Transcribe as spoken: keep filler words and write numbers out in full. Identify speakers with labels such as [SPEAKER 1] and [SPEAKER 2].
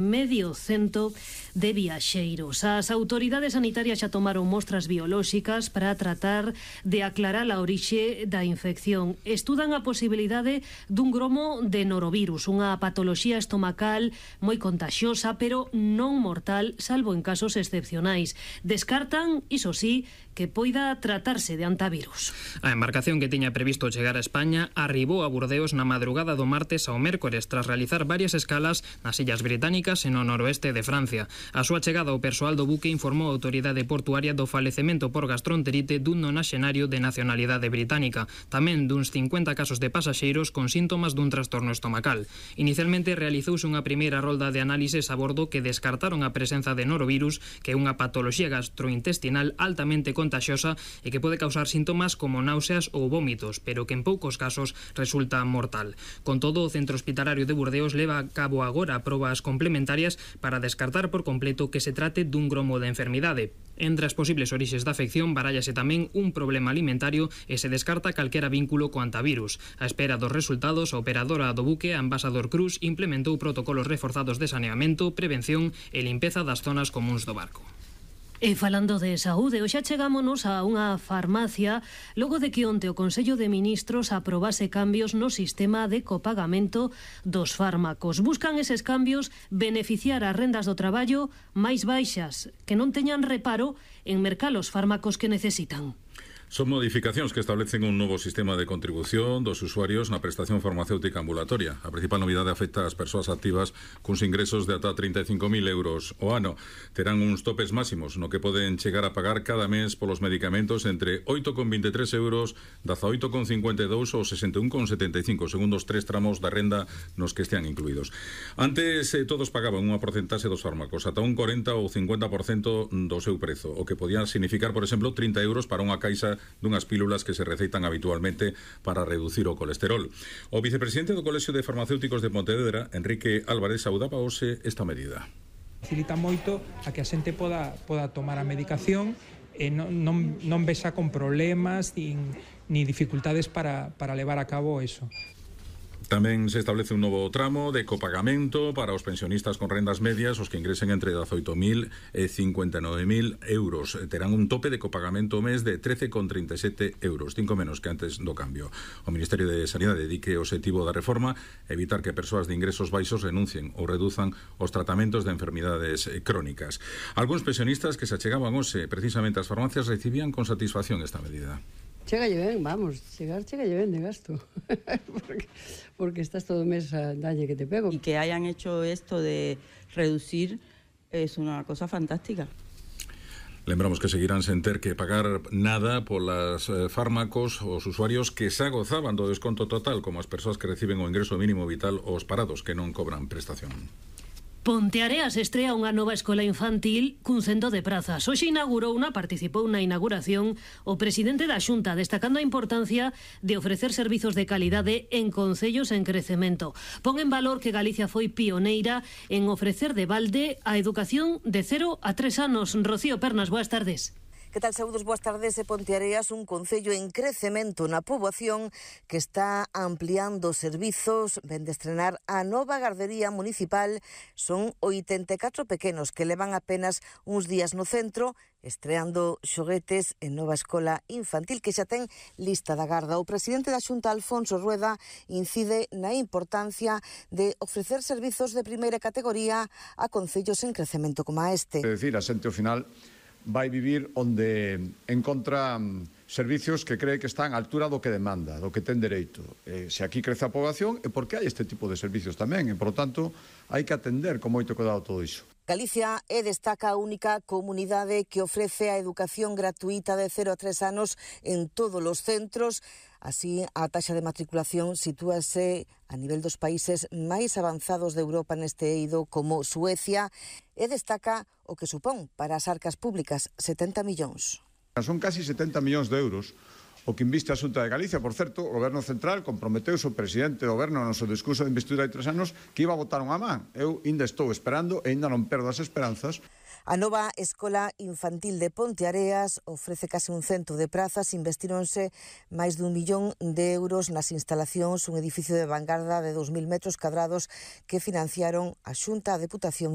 [SPEAKER 1] medio cento de viaxeiros. As autoridades sanitarias xa tomaron mostras biolóxicas para tratar de aclarar a orixe da infección. Estudan a posibilidade dun gromo de norovirus, unha patoloxía estomacal moi contagiosa, pero non mortal, salvo en casos excepcionais. Descartan, iso sí, que poida tratarse de antivirus.
[SPEAKER 2] A embarcación que tiña previsto chegar a España arribou a Burdeos na madrugada do martes ao mércores tras realizar varias escalas nas Illas Británicas e no noroeste de Francia. A súa chegada ao persoal do buque informou a autoridade portuaria do falecemento por gastroenterite dun nonaxenario de nacionalidade británica, tamén duns cincuenta casos de pasaxeiros con síntomas dun trastorno estomacal. Inicialmente realizouse unha primeira rolda de análises a bordo que descartaron a presenza de norovirus, que é unha patoloxía gastrointestinal altamente contagiosa e que pode causar síntomas como náuseas ou vómitos, pero que en poucos casos resulta mortal. Con todo, o Centro Hospitalario de Burdeos leva a cabo agora probas complementarias para descartar por completo que se trate dun gromo de enfermidade. Entre as posibles orixes da afección barállase tamén un problema alimentario e se descarta calquera vínculo co antivirus. A espera dos resultados, a operadora do buque, a Ambassador Cruz, implementou protocolos reforzados de saneamento, prevención e limpeza das zonas comúns do barco.
[SPEAKER 1] E falando de saúde, hoxe chegámonos a unha farmacia logo de que onte o Consello de Ministros aprobase cambios no sistema de copagamento dos fármacos. Buscan eses cambios beneficiar as rendas do traballo máis baixas, que non teñan reparo en mercar os fármacos que necesitan.
[SPEAKER 3] Son modificacións que establecen un novo sistema de contribución dos usuarios na prestación farmacéutica ambulatoria. A principal novidade afecta ás persoas activas cuns ingresos de ata trinta e cinco mil euros o ano. Terán uns topes máximos no que poden chegar a pagar cada mes polos medicamentos entre oito con vinte e tres euros, dezaoito con cincuenta e dous ou sesenta e un con setenta e cinco, segundo os tres tramos da renda nos que estean incluídos. Antes eh, todos pagaban unha porcentaxe dos fármacos, ata un cuarenta ou cincuenta por cento do seu prezo, o que podía significar, por exemplo, trinta euros para unha caixa dunhas pílulas que se receitan habitualmente para reducir o colesterol. O vicepresidente do Colexio de Farmacéuticos de Pontevedra, Enrique Álvarez, saudaba hoxe esta medida.
[SPEAKER 4] Facilita moito a que a xente poda, poda tomar a medicación e non, non, non vexa con problemas nin, ni dificultades para, para levar a cabo eso.
[SPEAKER 3] Tamén se establece un novo tramo de copagamento para os pensionistas con rendas medias, os que ingresen entre dezaoito mil e cincuenta e nove mil euros. Terán un tope de copagamento ao mes de trece con trinta e sete euros, cinco menos que antes do cambio. O Ministerio de Sanidade dedique o objetivo da reforma evitar que persoas de ingresos baixos renuncien ou reduzan os tratamentos de enfermidades crónicas. Algúns pensionistas que se achegaban hoxe precisamente ás farmacias recibían con satisfacción esta medida.
[SPEAKER 5] Chegalle ben, vamos, chegar chegalle ben de gasto, porque, porque estás todo o mes a dalle que te pego.
[SPEAKER 6] Y que hayan hecho esto de reducir es una cosa fantástica.
[SPEAKER 3] Lembramos que seguirán sen ter que pagar nada polas eh, fármacos os usuarios que xa gozaban do desconto total, como as persoas que reciben o ingreso mínimo vital ou os parados que non cobran prestación.
[SPEAKER 1] Ponteareas estrea unha nova escola infantil cun cento de prazas. Hoxe inaugurou unha, participou na inauguración o presidente da Xunta, destacando a importancia de ofrecer servizos de calidade en concellos en crecemento. Pon en valor que Galicia foi pioneira en ofrecer de balde a educación de cero a tres anos. Rocío Pernas, boas tardes.
[SPEAKER 7] Que tal, saúdos, boas tardes. E Ponteareas, un concello en crecemento na poboación que está ampliando servizos, ven de estrenar a nova gardería municipal. Son oitenta e catro pequenos que levan apenas uns días no centro, estreando xoguetes en nova escola infantil que xa ten lista da garda. O presidente da Xunta, Alfonso Rueda, incide na importancia de ofrecer servizos de primeira categoría a concellos en crecemento como a este.
[SPEAKER 8] É dicir, a xente ao final vai vivir onde encontra servicios que cree que están á altura do que demanda, do que ten dereito. E se aquí crece a poboación é porque hai este tipo de servicios tamén, e, por lo tanto, hai que atender con moito cuidado todo iso.
[SPEAKER 7] Galicia é, destaca, a única comunidade que ofrece a educación gratuita de cero a tres anos en todos os centros. Así, a taxa de matriculación sitúase a nivel dos países máis avanzados de Europa neste eido, como Suecia, e destaca o que supón para as arcas públicas, setenta millóns.
[SPEAKER 8] Son casi setenta millóns de euros o que inviste a Xunta de Galicia. Por certo, o Goberno Central comprometeuse o presidente do Goberno no seu discurso de investidura hai tres anos que iba a botar unha man. Eu ainda estou esperando e ainda non perdo as esperanzas.
[SPEAKER 7] A nova Escola Infantil de Ponteareas ofrece case un cento de prazas, investíronse máis dun millón de euros nas instalacións, un edificio de vanguarda de dos mil metros cadrados que financiaron a Xunta, a Deputación